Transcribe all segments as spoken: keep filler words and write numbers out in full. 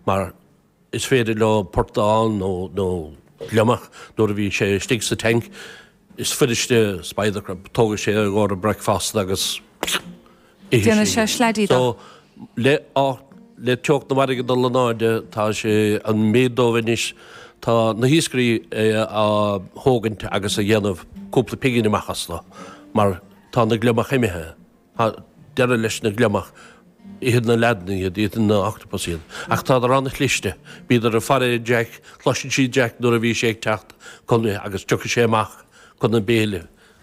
Mar is féidir leo portán nó nó gliomach nuair a bhí sé istigh sa tank, is fuiriste spider crab, tógann sé i gcomhair bricfeasta agus Déanann sé sleaidí de. So le le teocht na farraige ag dul in airde tá sé an méid dóibh anois tá na hiascairí á thógaint agus a dhéanamh cúpla pingin amach astu mar tá na gliomach imithe. Tá deireadh leis na gliomach. Itheann na leaideanna iad, itheann na octopus iad. Ach tádar an-chliste. Bíodar ag faire Jack, cloiseann siad Jack nuair a bhí sé ag teacht chun agus tiocfaidh sé amach chun an béile.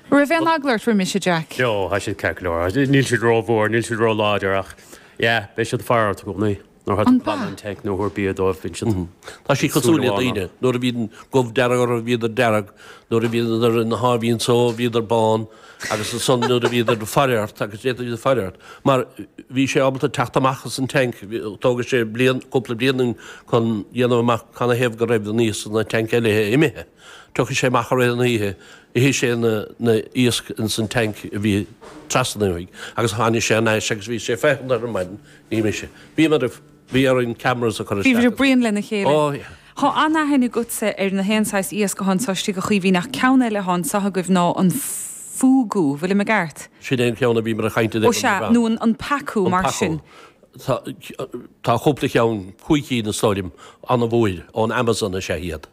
Raibh aon eagla ort roimis, a Jack? No, tá siad ceart go leor. Níl siad rómhór, níl siad róláidir ach yeah, beidh siad ag faire ort i gcónaí. Nuair atá tú ag glanadh an tank nó ag tabhairt bia dóibh, bíonn siad Tá siad cosúil le daoine. Nuair a bhíonn gob dearg orthu bhíodar dearg, nuair a bhíodar ina sháimhín só bhíodar bán agus ansan nuair a bhíodar ag faire ort agus d'fhéadfadh iad faire ort mar bhí sé ábalta teacht amach as an tank, tógfaidh sé bliain, cúpla bliain chun dhéanamh amach canathaobh go raibh an iasc sna tank eile imithe. Tiocfaidh sé amach i rith an oíche, ithfidh sé na na iasc ins an tank a bhí trasna uaidh agus tháinig sé thar n-ais agus bhí sé ag féachaint ar an maidin, ní mise. Bhíomar ag, bhí orainn cameras a chur Bhí isteach. Bhí bruíon lena chéile. Oh yeah. Tá an-aithne agatsa ar na haon saghas iasc atá anso istigh a Chaoimhín ach ceann eile atá anso agaibh ná an fugu, bhfuilim i gceart? Sin é an ceann a bhíomar ag caint Ó sea, nó an pacu mar sin. Tá tá cúpla ceann, cúig cinn is dóigh liom, an-mhór, ón Amazon is ea iad.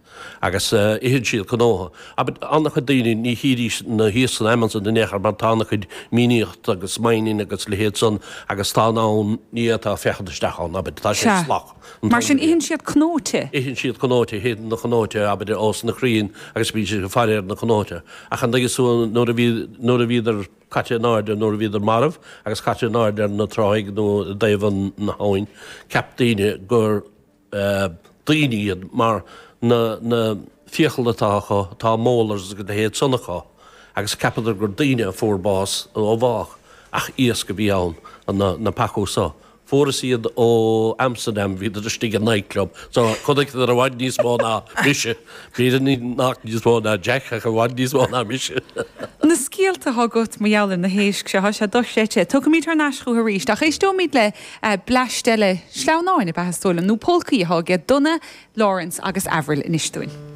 Agus itheann siad cnótha. An-chuid daoine, ní chídís na hiasc san Amazon in aon chor mar tá an-chuid mianaíocht agus mining agus leithéid san agus tá an ann, ní fhéadfá féachaint isteach ann, abair, tá sé Sea. salach an Mar t-am sin uilig. itheann siad cnóite? Itheann siad cnóite, itheann na cnóite, abair, ós na crainn agus bíonn siad ag faire ar na cnóite. Ach an dtuigeann tú nuair a bhí, nuair a bhíodar caite in airde, nuair a bhíodar marbh agus caite in airde ar na tráigh nó i dtaobh an na habhainn, cheap daoine gur daoine iad mar na na fiacail atá acu, tá molars agus a leithéid san acu agus cheapadar gur daoine a fuair bás ó bhádh ach iasc a bhí ann, na na pacu so. Fuarthas iad ó Amsterdam, bhíodar istigh i nightclub so chonaiceadar i bhfad níos mó ná mise, b'fhéidir nach níos mó ná Jack ach i bhfad níos mó ná mise. Na scéalta atá agat mar gheall ar na héisc seo, tá sé dochreidte. Tiocfaimid thar n-ais chucu arís ach éisteoimid le bleaist eile sleamhnáin ab ea is dóigh liom, nó polcaí atá aige Donagh, Laurence agus Avril anois dúinn.